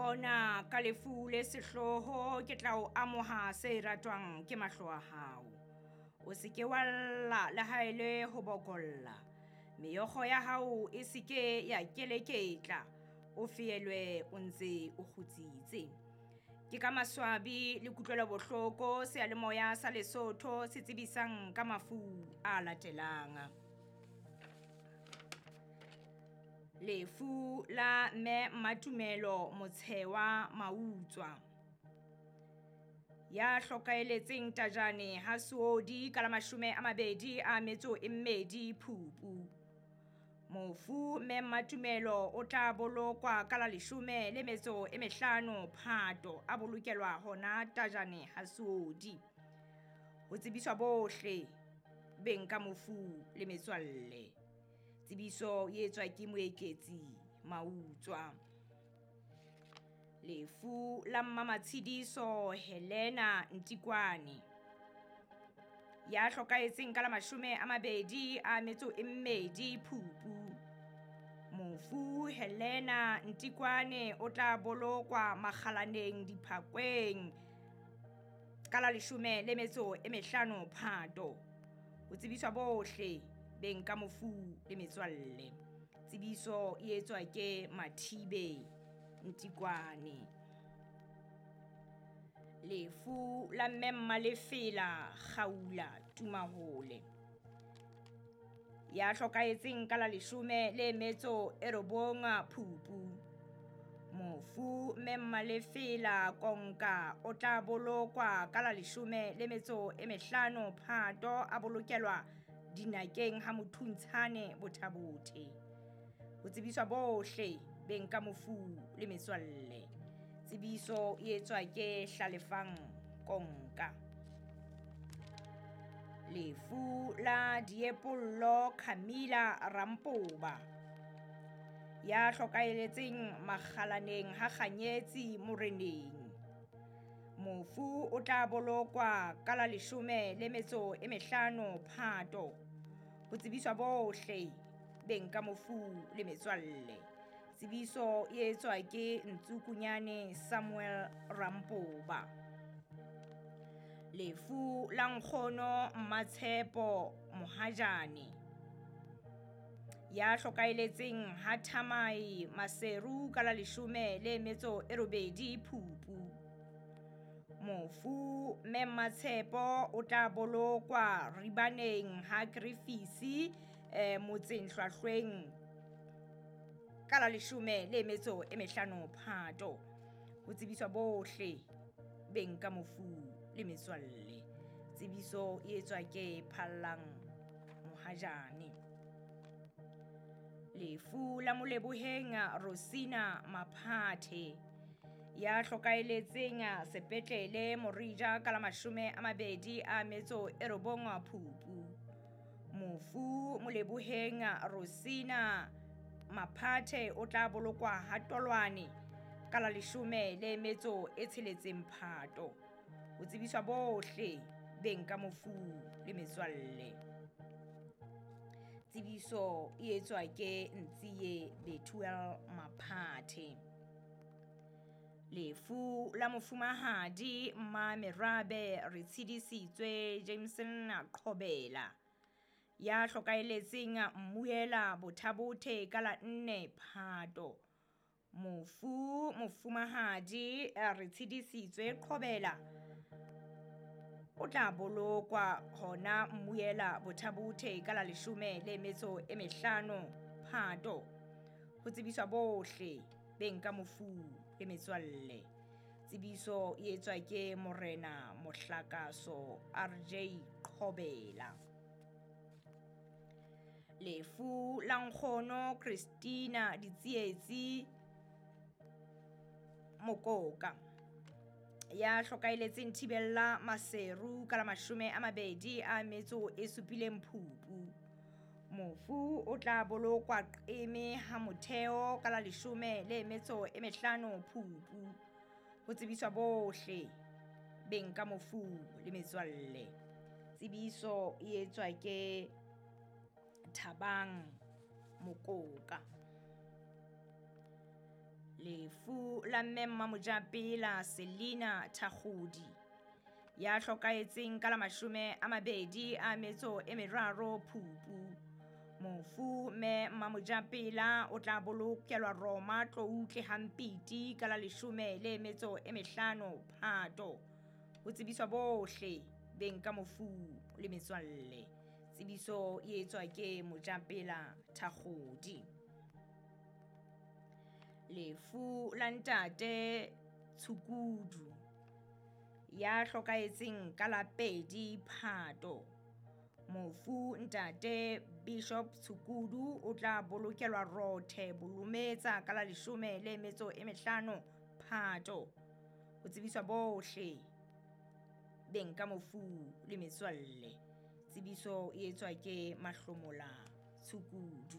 Bona, ka lefu le sehloho ke tla o amoha se ratwang ke mahlo a hao. O se ke wa lla le ha e le ho bokolla, meokgo ya hao e se ke ya keleketla, o feelwe o ntse o kgutsitse. Ke ka maswabi le kutlwelobohloko seyalemoya sa Lesotho se tsebisang ka mafu a latelang. Lefu la Mme Mmatumelo Motshewa Mautswa, ya hlokaeletseng Tajane ha Seodi ka la 22 Phupu. Mofu Mme Mmatumelo o tla bolokwa ka la 15 Phato, a bolokelwa hona Tajane ha Seodi. Ho tsebiswa bohle beng ka mofu le metswalle. Tsebiso e etswa ke Moeketsi Mautswa. Lefu la Mmamatshidiso Helena Ntikwane, ya hlokahetseng ka la 22 Phupu. Mofu Helena Ntikwane o tla bolokwa Makgalaneng Diphakweng ka la 15 Phato. Ho tsebiswa bohle beng ka mofu le metswalle. Tsebiso e etswa ke Mathibe Ntikwane. Lefu la Mme Mmalefela Kgaula Tumahole, ya hlokahetseng ka la 19 Phupu. Mofu Mme Mmalefela Konka o tla bolokwa ka la 15 Phato, a bolokelwa dinakeng ha Mothuntshane Bothabothe. Ho tsebiswa bohle beng ka mofu le metswalle. Tsebiso e etswa ke Hlalefang Konka. Lefu la Diepollo Camilla Rampoba, ya hlokaeletseng Makgalaneng ha Kganyetsi Moreneng. Mofu o tla bolokwa ka la 15 Phato. Ho tsebiswa bohle beng ka mofu le metswalle. Tsebiso e etswa ke Ntsukunyane Samuel Rampoba. Lefu la Nkgono Mmatshepo Mohajane, ya hlokaeletseng ha Thamai Maseru ka la 18 Phupu. Mofu Mme Mmatshepo o tla bolokwa Ribaneng ha Griffiths motseng Hlwahlweng ka la 15 Phato. Ho tsebiswa bohle beng ka mofu le metswalle. Tsebiso e etswa ke Phallang Mohajane. Lefu la Moleboheng Rosina Maphathe, ya hlokaeletseng sepetlele Morija ka la 29 Phupu. Mofu Moleboheng Rosina Maphathe o tla bolokwa ha Tolwane ka la 16 Phato. Ho tsebiswa bohle beng ka mofu le metswalle. Tsebiso e etswa ke Ntsiye Bethuel Maphathe. Lefu la Mofumahadi Mmamerabe Retshidisitswe Jameson Qhobela, ya hlokaeletseng Mmuela Bothabothe ka la 4 Phato. Mofu Mofumahadi Retshidisitswe Qhobela o tla bolokwa hona Mmuela Bothabothe ka la 15 Phato. Ho tsebiswa bohle beng ka mofu le metswalle. Tsebiso e etswa ke Morena Mohlakaso RJ Qhobela. Lefu la Nkgono Christina Ditsietsi Mokoka, ya hlokaeletseng Thibella Maseru ka la 27 Phupu. Mofu o tla bolokwa Qeme ha Motheo ka la 15 Phupu. Ho tsebiswa bohle beng ka mofu le metswalle. Tsebiso e etswa ke Thabang Mokoka. Lefu la mme Mmamojapela Selina Thakgodi ya hlokahetseng ka la 23 Phupu. Mofu mme Mmamojapela o tla bolokelwa Roma Tloutle Hampiti ka la 15 Phato. Ho tsebiswa bohle beng ka mofu le metswalle. Tsebiso e etswa ke Mojapela Thakgodi. Lefu la ntate Tshukudu ya hlokahetseng ka la 2 Phato. Mofu ntate Bishop Tshukudu o tla bolokelwa Rothe Bolometsa ka la 15 Phato. Ho tsebiswa bohle beng ka mofu le metswalle. Tsebiso e etswa ke Mahlomola Tshukudu.